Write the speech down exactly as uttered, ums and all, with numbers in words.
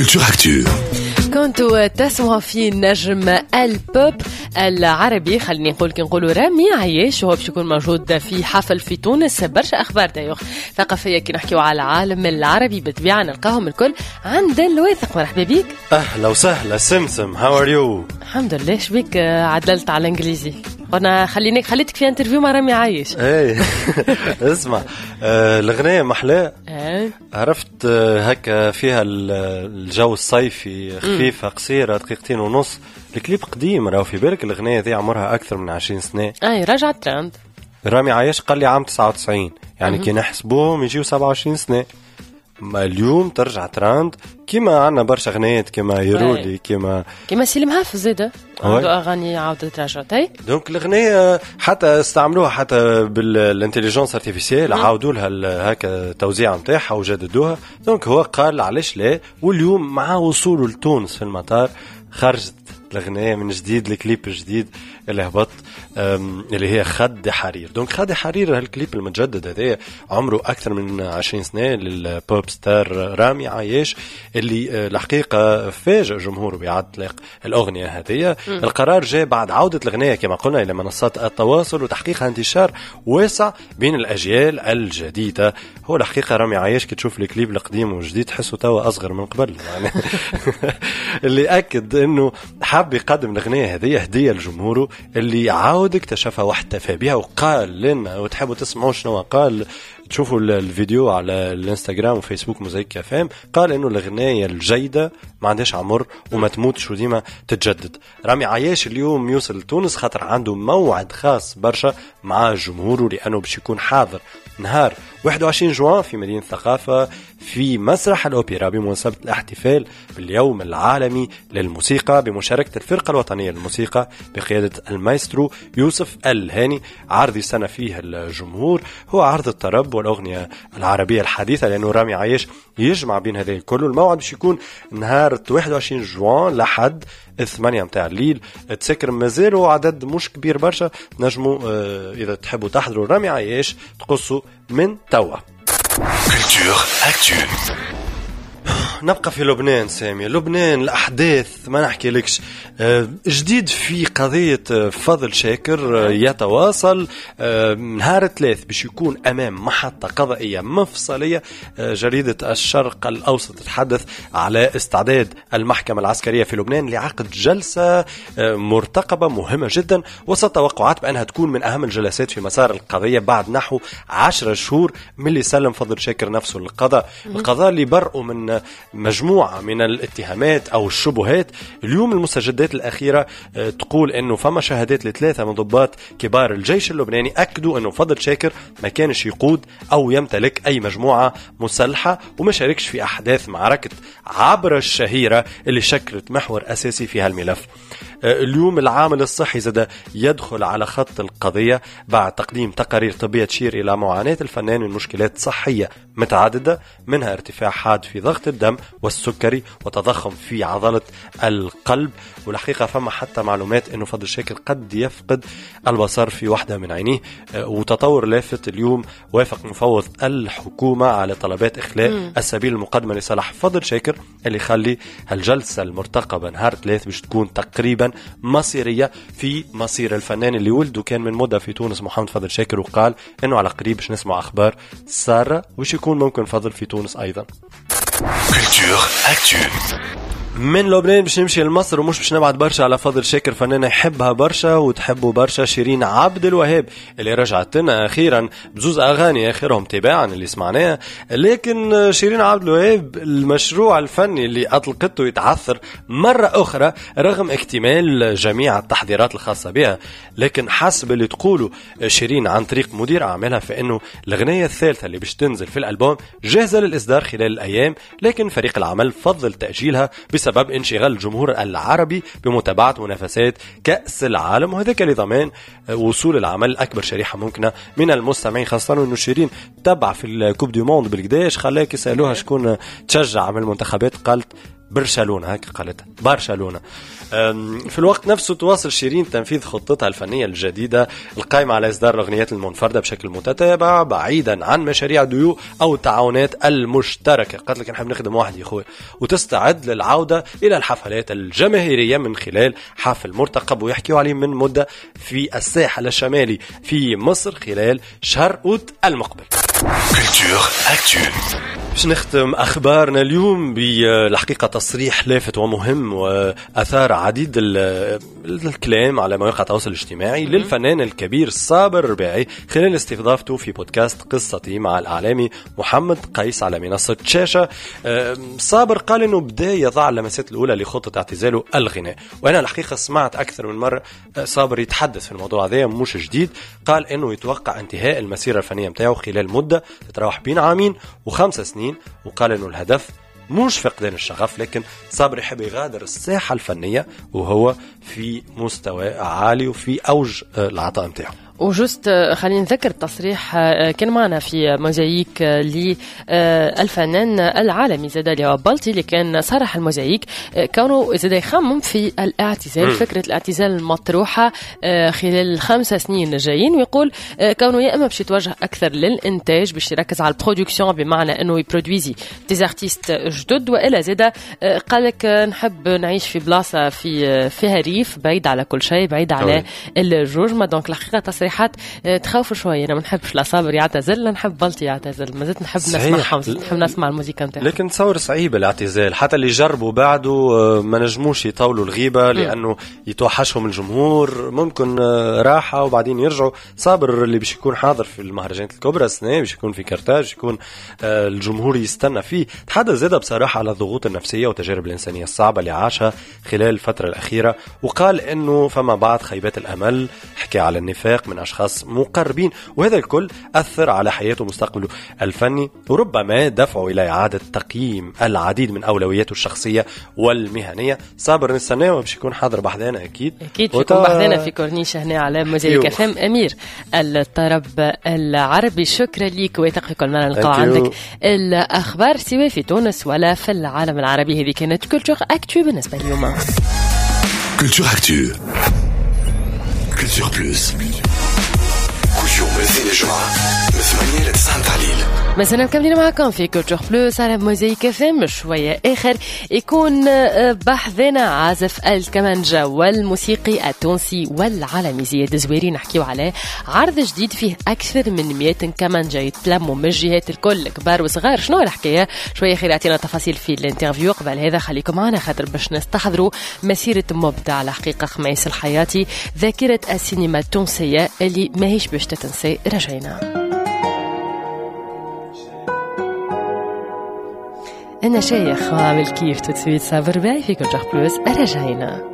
Culture Actu. كنتوا تسمعوا في نجم البوب العربي، خليني نقول كي نقولوا رامي عياش، وهو باش يكون موجود في حفل في تونس. برشا اخبار d'ailleurs ثقافية كي نحكيو على العالم العربي بالطبيعة نلقاهم الكل عند الواثق. مرحبا بك. اهلا وسهلا سمسم، how are you؟ الحمد لله. شبيك عدلت على الانجليزي؟ قلنا خليناك خليتك في interview مع رامي عياش. ايه اسمع، آه الاغنية محلاه، إيه. عرفت، آه هكا فيها الجو الصيفي، خفيفة قصيره، دقيقتين ونص. الكليب قديم راهو، في بالك الاغنية دي عمرها اكثر من عشرين سنه. اي رجعت ترند. رامي عياش قال لي عام تسعة وتسعين، يعني كي نحسبوهم يجيو سبعة وعشرين سنه. ما اليوم ترجع ترند كيما عندنا برشا غنيات كيما يرولي كيما كيما سليم حافظ زاده عنده اغاني عاودت رجعت. donc الاغنية حتى استعملوها حتى بال intelligence artificielle، عاودوا لها هكا التوزيع نتاعها وجددوها. donc هو قال علاش لا، واليوم مع وصوله لتونس في المطار خرجت الاغنية من جديد، الكليب الجديد اللي هبط اللي هي خد حرير. donc خد حرير، هالكليب المتجدد هذا عمره اكثر من عشرين سنة لل pop star رامي عياش، اللي آه، الحقيقة فاجئ جمهوره باعادة اطلاق الاغنية هذه. القرار جاء بعد عوده الاغنية كما قلنا الى منصات التواصل وتحقيقها انتشار واسع بين الاجيال الجديده. هو الحقيقة رامي عياش كي تشوف الكليب القديم والجديد تحسه توا اصغر من قبل يعني. اللي اكد انه حاب يقدم الاغنية هذه هديه لجمهوره اللي عاود اكتشفها واحتفى بها، وقال لنا، وتحبوا تسمعوا شنو قال تشوفوا الفيديو على الانستغرام وفيسبوك موزايك اف ام. قال انه الاغنية الجيدة ما عندهاش عمر وما تموتش وديما تتجدد. رامي عياش اليوم يوصل لتونس خاطر عنده موعد خاص برشا مع جمهوره، لانه باش يكون حاضر نهار واحد وعشرين جوان في مدينة الثقافة في مسرح الأوبرا بمناسبة الاحتفال باليوم العالمي للموسيقى بمشاركة الفرقة الوطنية للموسيقى بقيادة المايسترو يوسف الهاني. عرض يستنى فيه الجمهور هو عرض الطرب والأغنية العربية الحديثة، لأنه رامي عياش يجمع بين هذا الكل. الموعد باش يكون نهار واحد وعشرين جوان لحد الثمانية متاع الليل. تسكر مازالوا عدد مش كبير برشا، نجموا آه، إذا تحبوا تحضروا رامي عياش تقصوا من توا. Culture Actu. نبقى في لبنان سامي، لبنان الأحداث ما نحكي لكش. آه، جديد في قضية آه، فضل شاكر آه، يتواصل. نهار الثلاث باش يكون أمام محطة قضائية مفصلية. جريدة الشرق الأوسط تتحدث على استعداد المحكمة العسكرية في لبنان لعقد جلسة مرتقبة مهمة جدا، وسط توقعات بأنها تكون من أهم الجلسات في مسار القضية بعد نحو عشرة شهور من اللي سلم فضل شاكر نفسه للقضاء. القضاء اللي برأه من مجموعة من الاتهامات أو الشبهات. اليوم المستجدات الأخيرة آه، تقول أنه فما شهادات لثلاثة من ضباط كبار الجيش اللبناني أكدوا أنه فضل شاكر ما كانش يقود أو يمتلك أي مجموعة مسلحة وما شاركش في أحداث معركة عبرا الشهيرة اللي شكلت محور أساسي في هالملف. آه، اليوم العامل الصحي زاد يدخل على خط القضية بعد تقديم تقارير طبية تشير إلى معاناة الفنان من مشكلات صحية متعددة، منها ارتفاع حاد في ضغط الدم والسكري وتضخم في عضلة القلب. والحقيقة فما حتى معلومات أنه فضل شاكر قد يفقد البصر في واحدة من عينيه. آه، وتطور لافت اليوم، وافق مفوض الحكومة على طلبات إخلاء السبيل المقدمة لصالح فضل شاكر، اللي يخلي الجلسة المرتقبة نهار ثلاث باش تكون تقريبا مصيرية في مصير الفنان اللي ولده كان من مدة في تونس، محمد فضل شاكر، وقال انه على قريب باش نسمع اخبار سارة وش يكون ممكن فضل في تونس ايضا. Culture Actu. من لبنان باش نمشي لمصر، ومش باش نبعد برشا على فضل شاكر. فنانة يحبها برشا وتحبه برشا شيرين عبد الوهاب، اللي رجعت لنا اخيرا بزوز اغاني اخرهم تباعا اللي سمعناها. لكن شيرين عبد الوهاب المشروع الفني اللي اطلقته يتعثر مرة اخرى رغم اكتمال جميع التحضيرات الخاصة بها. لكن حسب اللي تقوله شيرين عن طريق مدير اعمالها فانه الاغنية الثالثة اللي باش تنزل في الالبوم جاهزة للاصدار خلال الايام، لكن فريق العمل فضل تاجيلها بسبب انشغال الجمهور العربي بمتابعة منافسات كاس العالم، وهذاك لضمان وصول العمل لاكبر شريحة ممكنة من المستمعين، خاصة انه شيرين تبع في ال coupe du monde بالقداش خلاك يسالوها شكون تشجع من المنتخبات قالت برشلونة، هكا قالتها برشلونة. في الوقت نفسه تواصل شيرين تنفيذ خطتها الفنية الجديدة القائمة على إصدار الأغنيات المنفردة بشكل متتابع بعيدا عن مشاريع ديو أو التعاونات المشتركة. قالت لك نحب نخدم وحدي يا خويا، وتستعد للعودة إلى الحفلات الجماهيرية من خلال حفل مرتقب ويحكيوا عليه من مدة في الساحل الشمالي في مصر خلال شهر أوت المقبل. Culture Actu. باش نختم أخبارنا اليوم بالحقيقة تصريح لافت ومهم وأثار عديد الكلام على مواقع التواصل الاجتماعي للفنان الكبير صابر الرباعي خلال استضافته في بودكاست قصتي مع الإعلامي محمد قيس على منصة شاشة. صابر قال إنه بدأ يضع اللمسات الأولى لخطة اعتزاله الغناء، وأنا الحقيقة سمعت أكثر من مرة صابر يتحدث في الموضوع هذا مش جديد. قال إنه يتوقع انتهاء المسيرة الفنية متاعه خلال مدة تتراوح بين عامين وخمس سنين، وقال إنه الهدف مش فقدان الشغف، لكن صابر يحب يغادر الساحة الفنية وهو في مستوى عالي وفي أوج العطاء متاعه. و juste خلينا نذكر التصريح كان معنا في موزايك للفنان العالمي زاد اللي هو بلطي، اللي كان صرح الموزايك كونه زاد يخمم في الاعتزال، م. فكرة الاعتزال المطروحة خلال الخمسة سنين الجايين، ويقول كونه يا إما باش يتوجه أكثر للإنتاج باش يركز على ال production بمعنى أنه يبرودويزي des artistes جدد، وإلا زاد قالك نحب نعيش في بلاصة في فيها ريف بعيد على كل شيء، بعيد على الجوجمة. donc الحقيقة تصريحات تخوف شوية. أنا ما نحبش لا صابر يعتزل لا نحب بلطي يعتزل، ما زلت نحب نسمعهم، نحب نسمع الموسيقى نتاعهم. لكن تصور صعيب الاعتزال، حتى اللي جربوا بعده ما نجموش يطولوا الغيبة لأنه يتوحشهم الجمهور، ممكن راحة وبعدين يرجعوا. صابر اللي باش يكون حاضر في المهرجانات الكبرى السنة، باش يكون في كرتاج، يكون الجمهور يستنى فيه. تحدث زاد بصراحة على الضغوط النفسية والتجارب الإنسانية الصعبة اللي عاشها خلال الفترة الأخيرة، وقال إنه فما بعض خيبات الأمل، حكى على النفاق من أشخاص مقربين، وهذا الكل أثر على حياته ومستقبله الفني، وربما دفعه إلى إعادة تقييم العديد من أولوياته الشخصية والمهنية. صابر نستناه باش يكون حاضر بحذانا أكيد، أكيد يكون بحذانا في كورنيش هنا على موزايك اف ام أمير الطرب العربي. شكرا ليك ويتقي كل مرة نلقاو عندك الأخبار سواء في تونس ولا في العالم العربي. هذه كانت Culture Actu بالنسبة اليوم. Culture Actu، Culture Plus، كل يوم الاثنين الجمعة من ثمانية ل تسعة متاع الليل. مثلا مكملين معكم في Culture Plus على موزايك اف ام. شوية آخر يكون بحثنا عازف الكمانجا والموسيقي التونسي والعالمي زياد زويري، نحكيو على عرض جديد فيه أكثر من مئة كمانجا يتلموا من الجهات الكل كبار وصغار. شنو الحكاية؟ شوية خير يعطينا تفاصيل في ال interview. قبل هذا خليكم معنا خاطر باش نستحضروا مسيرة مبدع الحقيقة خميس الحياتي، ذاكرة السينما التونسية اللي ماهيش باش تتنسي. رجعنا أنا شيخ وعامل كيف تتسويت صابر باي في Culture Plus. رجعنا.